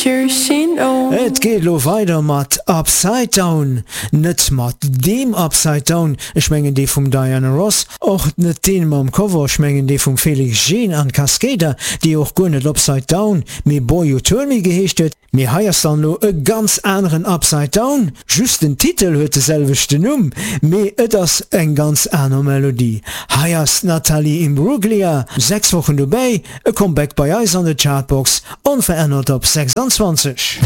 Et geet elo weider mat Upside Down. Net mat deem Upside Down, ech mengen dee vum Diana Ross, och net deen mam Cover, ech mengen dee vum Felix Jaehn an Cascada, dee och guer net Upside Down, mee Boy You Turn Me geheescht huet. Mee hei ass dann elo e ganz aneren Upside Down, just den Titel huet de selwechten Numm, mee et ass eng ganz aner Melodie. Hei ass d'Natalie Imbruglia, 6 Wochen dobäi, E Comeback bei eis an de Chartbox, onverännert op 26.